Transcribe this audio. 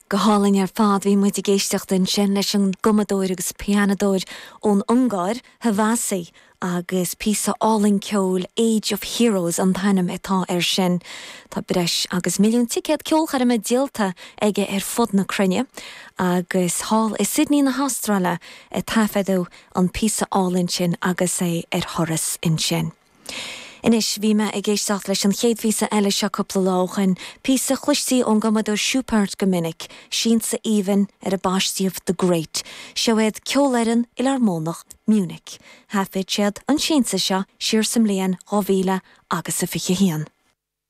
Go hálainn ar fad. Bhí muid ag éisteacht ansin leis an gcumadóir agus pianadóir ón Ungáir, Havasi, agus píosa álainn ceoil, Age of Heroes an t-ainm atá air sin. Tá breis agus milliún ticéad ceolchoirme díolta aige ar fud na cruinne agus thall i Sydney na hAstráile a taifeadadh an píosa álainn sin agus é ar thuras ansin. Anois, bhí mé ag éisteacht leis an chéad phíosa eile seo cúpla lá ó shoin, píosa a chloistí ón gcumadóir Schubert go minic, siansa aoibhinn ar a baistíodh The Great. Seo iad Ceolfhoireann Fhilearmónach Munich. Thaifead siad an siansa seo siar sa mbliain 2000 agus a 21.